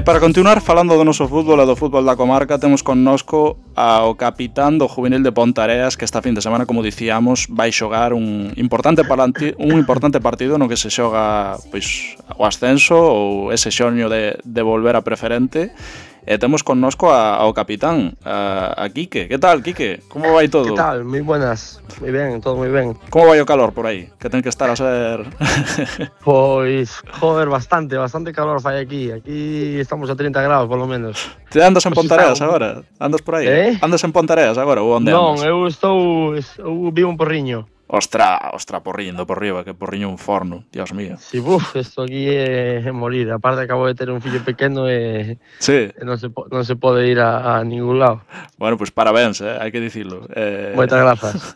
para continuar falando do noso fútbol e do fútbol da comarca, temos connosco ao capitán do Juvenil de Pontareas, que esta fin de semana, como dicíamos, vai xogar un importante partido no que se xoga pois o ascenso ou ese xoño de volver a preferente. E temos connosco ao capitán, a Quique. Que tal, Quique? Como vai todo? Que tal? Moi buenas. Moi ben, todo moi ben. Como vai o calor por aí? Que ten que estar a ser... Pois, joder, bastante calor fai aquí. Aquí estamos a 30 graus, polo menos. Te andas en Pontareas agora? Andas por aí? Andas en Pontareas agora ou onde andas? Non, eu vivo en Porriño. Ostra, porriño por riba, que porriño un forno, Dios mío. Si, isto aquí é morir. Aparte acabo de ter un fillo pequeno e sí. Non se pode ir a ningún lado. Bueno, pues parabéns, hai que dicilo. Moitas grazas.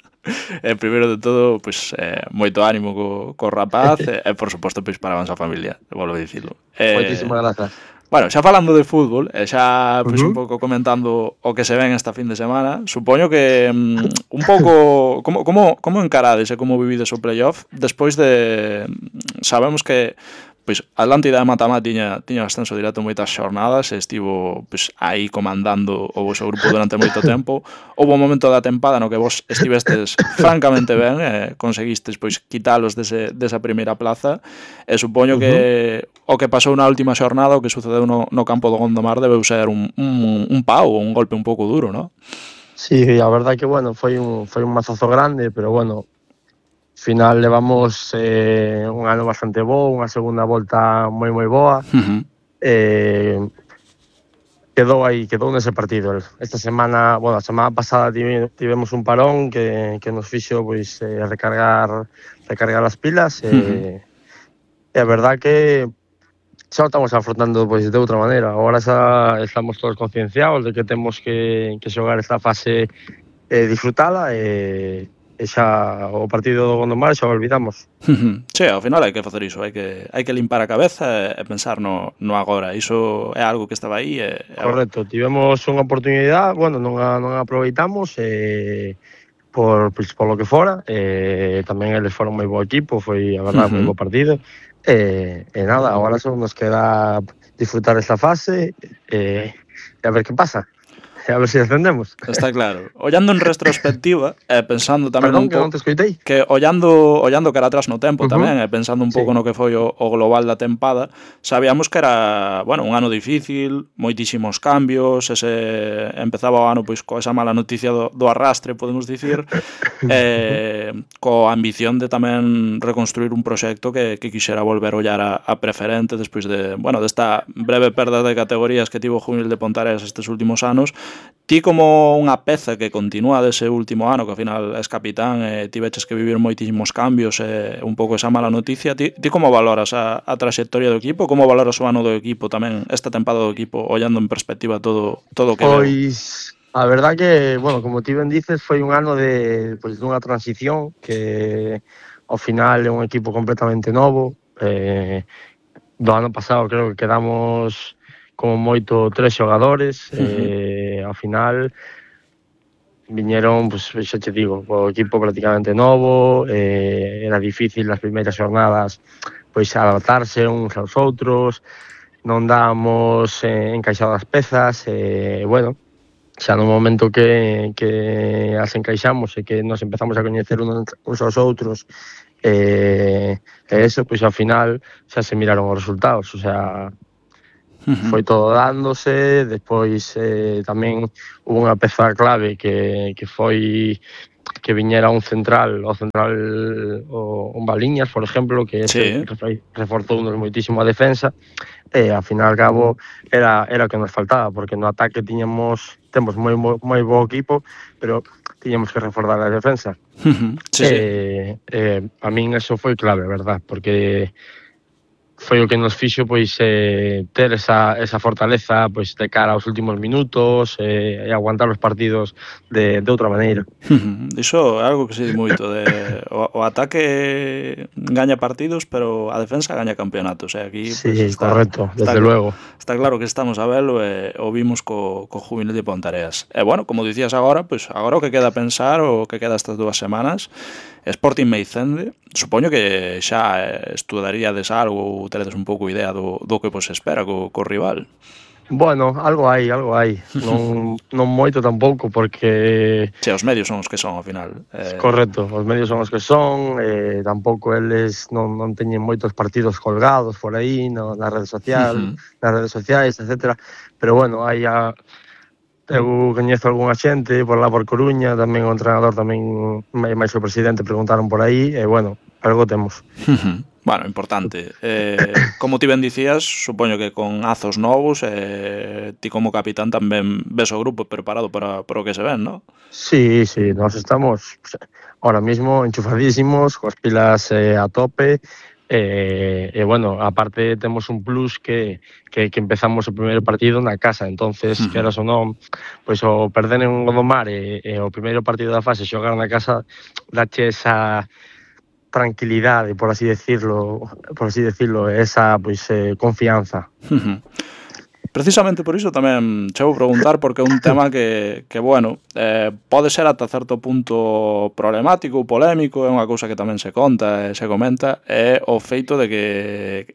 Primeiro de todo, pues, moito ánimo co rapaz e, por suposto, pues, parabéns á familia, volvo a dicilo. Moitísimas grazas. Bueno, xa falando de fútbol, xa pois, un pouco comentando o que se ven esta fin de semana, supoño que un pouco como encarades e como vivides o playoff despois de... Sabemos que pois Atlántida de Matamá tiña ascenso directo moitas xornadas e estivo pois, aí comandando o vosso grupo durante moito tempo. Houve un momento da tempada no que vos estivestes francamente ben e conseguistes pois quitalos desa primeira plaza e supoño que o que pasou na última xornada, o que sucedeu no campo do Gondomar debeu ser un pau, un golpe un pouco duro, non? Sí, a verdade que, bueno, foi un mazazo grande, pero, bueno, final levamos un ano bastante bo, unha segunda volta moi boa. Quedou nese partido. Esta semana, bueno, a semana pasada tivemos un parón que nos fixo pois recargar as pilas e a verdade que xa o estamos afrontando pois de outra maneira. Agora xa estamos todos concienciados de que temos que xogar esta fase e disfrutala e xa o partido do Gondomar xa o olvidamos. Sí, ao final hai que facer iso, hai que limpar a cabeza e pensar no agora. Iso é algo que estaba aí e... Correcto, tivemos unha oportunidade, bueno, non a aproveitamos por lo que fora, tamén eles foron moi bo equipo, foi a verdade moi bo partido e nada, agora só nos queda disfrutar esta fase e a ver que pasa. A ver se ascendemos. Está claro. Ollando en retrospectiva, pensando tamén un pouco... que ollando cara atrás no tempo tamén, pensando un pouco no que foi o global da tempada, sabíamos que era, bueno, un ano difícil, moitísimos cambios, empezaba o ano pois coa esa mala noticia do arrastre, podemos dicir, coa ambición de tamén reconstruir un proxecto que quixera volver a ollar a preferente despois de, bueno, desta breve perda de categorías que tivo o Juvenil de Pontareas estes últimos anos. Ti como unha peza que continúa dese último ano, que ao final és capitán e ti veches que vivir moitísimos cambios e un pouco esa mala noticia, ti como valoras a trayectoria do equipo? Como valoras o ano do equipo tamén, esta tempada do equipo, ollando en perspectiva todo o que veo? Pois, a verdade que, bueno, como ti ben dices, foi un ano dunha transición que ao final é un equipo completamente novo. Do ano pasado creo que quedamos como moito 3 xogadores, ao final viñeron, pois, xa te digo, o equipo prácticamente novo, era difícil nas primeiras xornadas pois adaptarse uns aos outros, non dábamos encaixadas pezas, bueno, xa no momento que as encaixamos e que nos empezamos a coñecer uns aos outros, eso, pois ao final xa se miraron os resultados, o sea... Foi todo dándose, despois tamén hubo unha peza clave que foi que viñera un Baliñas, por exemplo, que reforzounos moitísimo a defensa e ao final ao cabo era o que nos faltaba, porque no ataque temos moi bo equipo, pero tiñamos que reforzar a defensa. A min eso foi clave, verdad, porque foi o que nos fixo pois ter esa fortaleza pois de cara aos últimos minutos e aguantar os partidos de outra maneira. Iso é algo que se di moito, o ataque gaña partidos, pero a defensa gaña campeonatos, aquí sí, pues, correcto, desde luego. Está claro que estamos a velo e o vimos co Juvenil de Pontareas. E bueno, como dicías agora, pois agora o que queda pensar, o que queda estas 2 semanas Sporting Meicende, supoño que xa estudaríades algo ou teredes un pouco idea do que vos espera co rival. Bueno, algo hai. Non moito tampouco, porque Che, os medios son os que son, ao final. correcto, os medios son os que son, tampouco eles non teñen moitos partidos colgados por aí nas redes sociais, etcétera. Pero bueno, eu coñezo algunha xente por lá por Coruña, tamén o entrenador, tamén máis o presidente preguntaron por aí, e bueno, algo temos. Bueno, importante. Como ti ben dicías, supoño que con azos novos, ti como capitán tamén ves o grupo preparado para o que se ven, non? Sí, nós estamos ahora mismo enchufadísimos, coas pilas a tope, e bueno, aparte temos un plus que empezamos o primeiro partido na casa, entonces, queras ou non, pois o perder en Gondomar e o primeiro partido da fase xogar na casa dache esa tranquilidade, por así decirlo, esa pois confianza. Precisamente por iso tamén che vou preguntar, porque é un tema que bueno, pode ser ata certo punto problemático ou polémico, é unha cousa que tamén se conta e se comenta, é o feito de que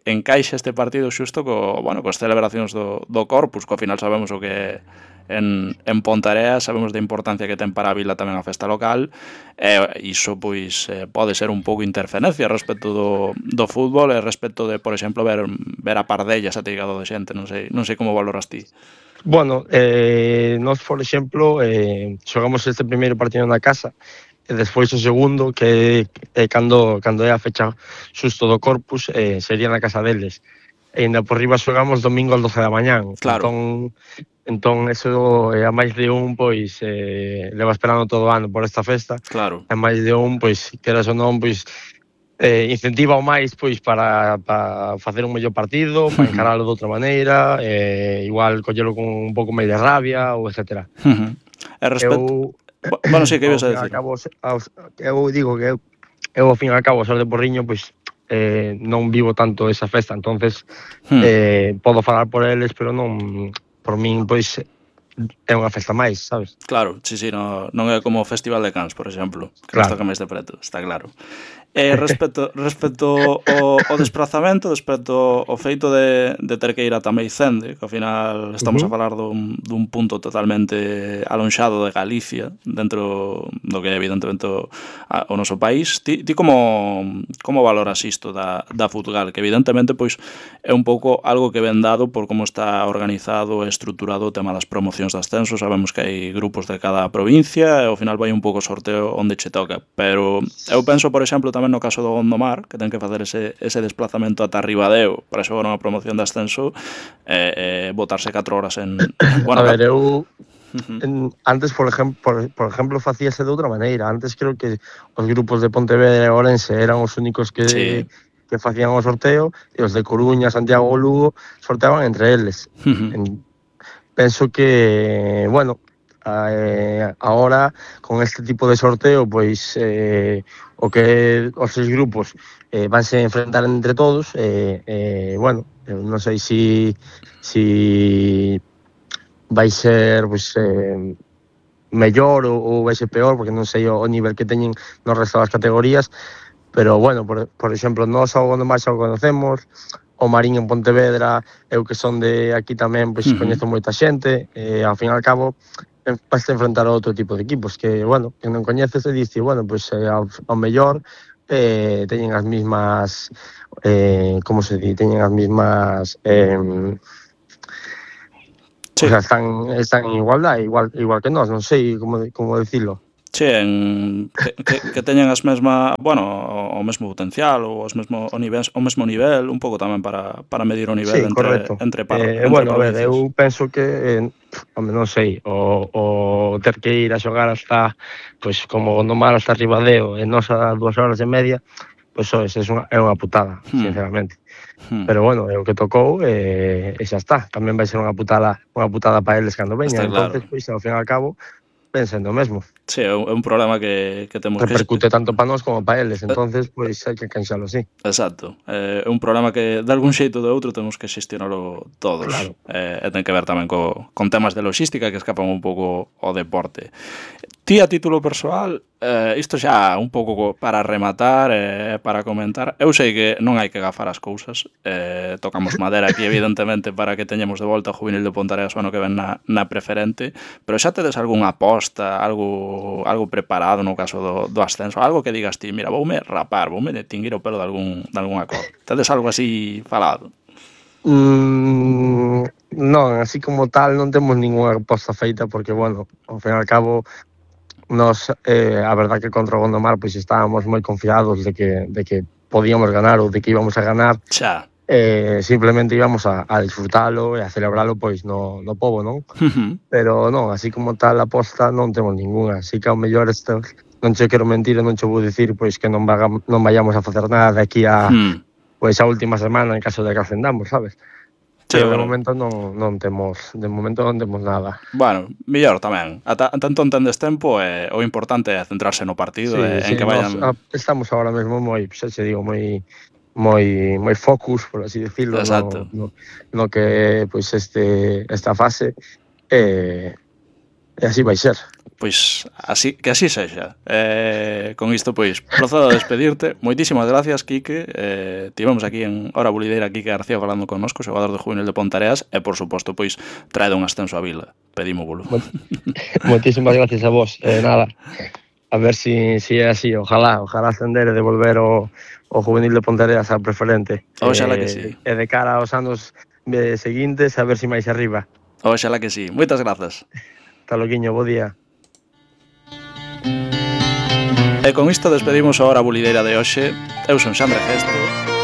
encaixe este partido xusto coas celebracións do Corpus, que ao final sabemos o que en Ponteareas, sabemos da importancia que ten para a vila tamén a festa local, e iso pois pode ser un pouco interferencia respecto do fútbol e respecto de, por exemplo, ver a Pardellas ateigado de xente, non sei como valoras ti. Bueno, nós, por exemplo, xogamos este primeiro partido na casa, e despois o segundo, que cando é a fecha xusto do Corpus, sería na casa deles. E ainda por riba xogamos domingo ás 12 da mañán. Claro. Entón eso, a máis de un, pois, leva esperando todo o ano por esta festa. Claro. A máis de un, pois, queras ou non, pois, incentiva o máis, pois, para facer un mellor partido, para encaralo de outra maneira, igual collelo con un pouco máis de rabia, ou etcétera. E respecto... Bueno, sí, que ibas a decir? Eu digo que eu, ao fin e ao cabo, ao ser de Porriño, pois, non vivo tanto esa festa, entonces podo falar por eles, pero non, por min, pois, é unha festa máis, sabes? Claro, sí, non é como o Festival de Cans, por exemplo, que nos toca máis de preto, está claro. Respecto ao desplazamento, respecto ao feito de ter que ir ata Meicende, que ao final estamos a falar dun punto totalmente alonxado de Galicia, dentro do que é evidentemente o noso país, ti como valoras isto da Futgal, que evidentemente pois é un pouco algo que ven dado por como está organizado e estruturado o tema das promocións de ascenso. Sabemos que hai grupos de cada provincia e ao final vai un pouco sorteo onde che toca, pero eu penso, por exemplo, tamén no caso do Gondomar, que ten que facer ese desplazamento ata Ribadeo para xogar unha promoción de ascenso e botarse 4 horas en... Bueno, a ver, eu antes, por exemplo, facíase de outra maneira. Antes creo que os grupos de Pontevedra e Ourense eran os únicos que facían o sorteo, e os de Coruña, Santiago ou Lugo sorteaban entre eles. Penso que, bueno, ahora con este tipo de sorteo, pois o que os 6 grupos vanse enfrentar entre todos, bueno, non sei si vai ser pois mellor ou vai ser peor, porque non sei o nivel que teñen no resto das categorías, pero bueno, por exemplo, nós ao Gondomar xa o conocemos, o Marín en Pontevedra, eu que son de aquí tamén, pois coñezo moita xente, e ao fin e ao cabo vas a enfrentar a outro tipo de equipos que, bueno, que non coñeces e dices, bueno, pois ao mellor teñen as mismas como se di, teñen as mismas o sea, están en igualdade, igual que nós, non sei como dicilo. Sí, que teñen as mesma, bueno, o mesmo potencial ou o mesmo nivel, un pouco tamén para medir o nivel entre bueno, a ver, eu penso que non sei, o ter que ir a xogar hasta, pois, como Gondomar hasta Ribadeo, e nós a 2 horas e media, pois é unha putada, sinceramente. Pero bueno, é o que tocou e xa está. Tamén vai ser unha putada para eles cando veñan. Entonces, pois, ao fin e ao cabo, pensando mesmo. Sí, é un problema que temos que... Repercute tanto para nós como para eles, entonces, pois, hai que canxalo así. Exacto. É un problema que, de algún xeito ou de outro, temos que xestionalo todos. Claro. E ten que ver tamén con temas de logística que escapan un pouco ao deporte. Ti a título persoal, isto xa un pouco para rematar, para comentar. Eu sei que non hai que gafar as cousas, tocamos madera aquí evidentemente para que teñamos de volta o juvenil de Ponteareas o ano que ven na preferente, pero xa tedes algunha aposta, algo preparado no caso do ascenso, algo que digas ti, mira, voume rapar, voume tinguir o pelo de algunha cor. Tedes algo así falado? Non, así como tal non temos ninguna aposta feita porque, bueno, ao fin e ao cabo nos, a verdad que contra o Gondomar pois estábamos moi confiados de que podíamos ganar ou de que íbamos a ganar. Xa. Simplemente íbamos a disfrutalo e a celebralo pois no pobo, non? Pero non, así como tal aposta non temos ninguna, así que ao mellor non che quero mentir e non che vou dicir pois que non vayamos a facer nada de aquí a pois a última semana en caso de que ascendamos, sabes? Sí, pero de bueno. momento non temos nada. Bueno, mellor tamén. Tanto entendes tempo, o importante é centrarse no partido en que vayan... Estamos ahora mesmo moi, xa che digo, moi focus, por así decirlo, no que pois esta fase e así vai ser. Pois que así sexa. Con isto, pois, procedo a despedirte. Moitísimas gracias, Quique. Tivemos aquí en Hora Bulideira Quique García falando connosco, xogador de juvenil de Ponteareas, e, por suposto, pois, traede un ascenso a Vila. Pedímoslo. Moitísimas gracias a vos. Nada, a ver si é así. Ojalá ascender e devolver o juvenil de Ponteareas a preferente. Oxalá que sí. E de cara aos anos seguintes, a ver si máis arriba. Oxalá que sí. Moitas grazas. Hasta loquiño, bo día. E con isto despedimos a Hora Bulideira de hoxe. Eu son Xandre Gesto.